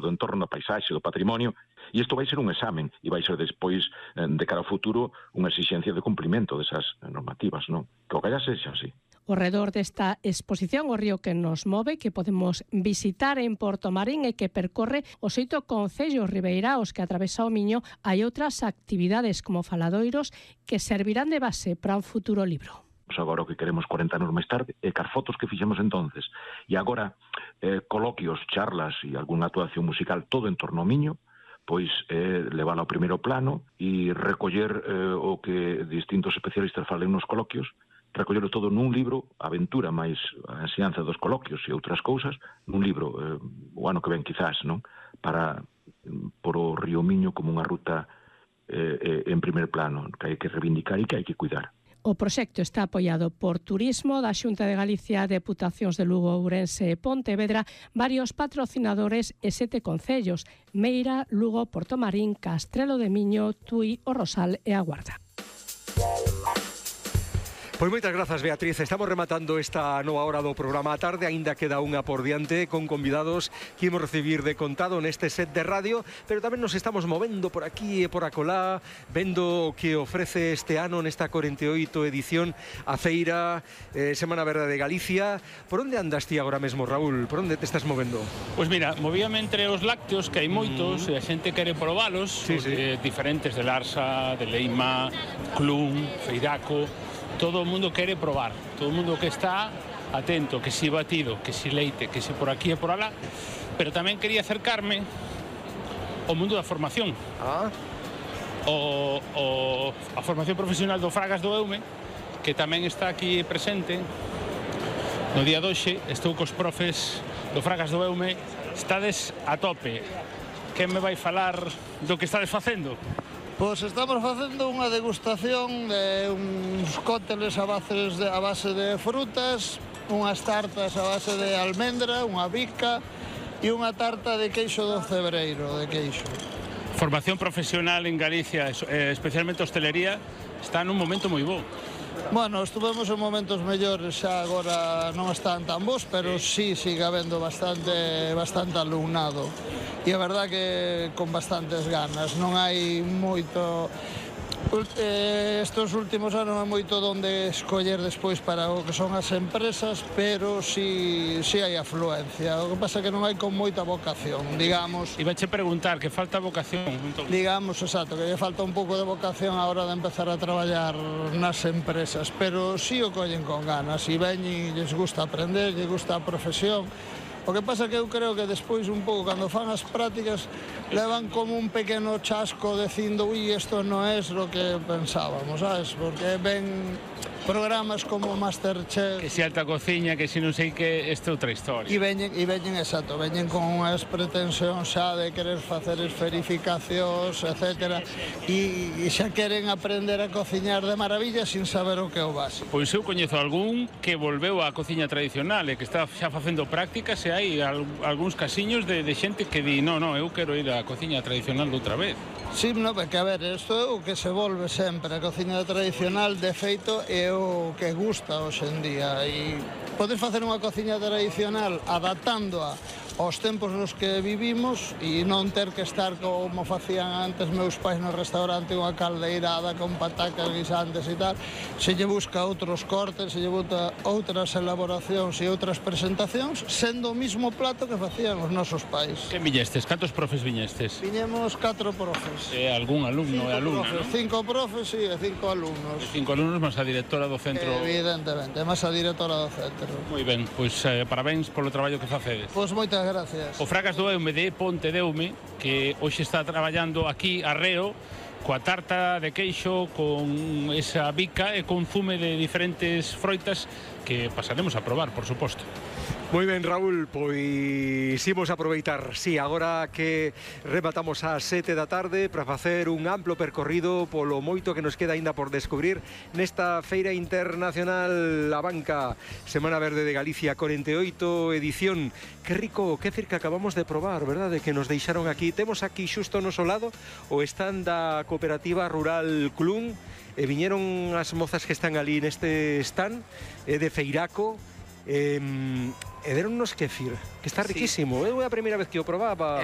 do entorno, da paisaxe, do patrimonio, e isto vai ser un examen, e vai ser despois, de cara ao futuro, unha exigencia de cumprimento desas normativas, non? Que o que sexa así. Ao redor desta exposición O río que nos move, que podemos visitar en Portomarín e que percorre os 8 concellos ribeiraos que atravesa o Miño, hai outras actividades como faladoiros que servirán de base para un futuro libro. Agora o que queremos 40 anos máis tarde é car fotos que fixemos entonces. E agora coloquios, charlas e algunha actuación musical todo en torno ao Miño, pois levála ao primeiro plano e recoller o que distintos especialistas falen nos coloquios, recollelo todo nun libro, a aventura máis a enseñanza dos coloquios e outras cousas, nun libro, o ano que ven quizás, non? Para por o río Miño como unha ruta en primer plano, que hai que reivindicar e que hai que cuidar. O proxecto está apoiado por Turismo da Xunta de Galicia, Deputacións de Lugo, Ourense e Pontevedra, varios patrocinadores e 7 concellos: Meira, Lugo, Portomarín, Castrelo de Miño, Tui, O Rosal e A Guarda. Pois moitas grazas, Beatriz. Estamos rematando esta nova hora do programa a tarde. Aínda queda unha por diante con convidados que imos recibir de contado neste set de radio, pero tamén nos estamos movendo por aquí e por acolá, vendo o que ofrece este ano nesta 48 edición a Feira Semana Verde de Galicia. Por onde andas ti agora mesmo, Raúl? Por onde te estás movendo? Pois mira, movíame entre os lácteos, que hai moitos, e a xente quere probalos, sí. Diferentes de Larsa, de Leima, Clun, Feiraco. Todo o mundo quere probar, todo o mundo que está atento, que si batido, que si leite, que si por aquí e por alá, pero tamén quería acercarme ao mundo da formación. A formación profesional do Fragas do Eume, que tamén está aquí presente. No día de hoxe estou cos profes do Fragas do Eume, estades a tope. Quen me vai falar do que estades facendo? Pois estamos facendo unha degustación de uns cócteles a base de frutas, unhas tartas a base de almendra, unha bica e unha tarta de queixo do cebreiro, de queixo. Formación profesional en Galicia, especialmente hostelería, está nun momento moi bo. Bueno, estuvemos en momentos mellores, xa agora non están tan bons, pero sí sigue habendo bastante alumnado. E a verdad que con bastantes ganas, non hai moito... Estos últimos anos hai moito donde escoller despois para o que son as empresas, pero sí hai afluencia. O que pasa é que non hai con moita vocación, digamos. E vache preguntar, que falta vocación? Digamos, exacto, que lle falta un pouco de vocación a hora de empezar a traballar nas empresas, pero sí o collen con ganas, e veñen, lles gusta aprender, lles gusta a profesión. O que pasa que eu creo que despois un pouco, cando fan as prácticas, levan como un pequeno chasco dicindo ui, isto non é o que pensábamos, sabes? Porque ven programas como Masterchef... Que se alta cociña, que se non sei que, esta outra historia. E veñen, exacto, veñen con unhas pretensións xa de querer facer verificacións, etc. E xa queren aprender a cociñar de maravilla sin saber o que é o básico. Pois eu coñezo algún que volveu á cociña tradicional e que está xa facendo prácticas, e hai algúns casiños de xente que di, non, eu quero ir á cociña tradicional de outra vez. Sí, no, porque a ver, isto é o que se volve sempre, a cociña tradicional, de feito, é o que gusta hoxe en día, e podes facer unha cociña tradicional adaptándoa aos tempos nos que vivimos e non ter que estar como facían antes meus pais no restaurante, unha caldeirada con patacas guisantes e tal. Se lle busca outros cortes, se lle busca outras elaboracións e outras presentacións, sendo o mismo plato que facían os nosos pais. Que viñestes? Cantos profes viñestes? Viñemos 4 profes. E algún alumno e alumna, non? 5 profes e 5 alumnos. 5 alumnos máis a directora do centro. Evidentemente, máis a directora do centro. Moi ben, pois parabéns polo traballo que facedes. Pois moitas gracias. O Fragas do Eume de Ponte de Eume, que hoxe está traballando aquí a Reo, coa tarta de queixo, con esa bica e con zume de diferentes froitas que pasaremos a probar, por suposto. Moi ben, Raúl, pois imos aproveitar, sí, agora que rematamos ás 7 da tarde para facer un amplo percorrido polo moito que nos queda aínda por descubrir nesta Feira Internacional La Banca, Semana Verde de Galicia, 48 edición. Que rico, que cerca acabamos de probar, verdade, que nos deixaron aquí. Temos aquí xusto ao noso lado o stand da Cooperativa Rural Clun, e viñeron as mozas que están ali neste stand de Feiraco, e deronnos kefir, que está riquísimo. É a primeira vez que o probaba.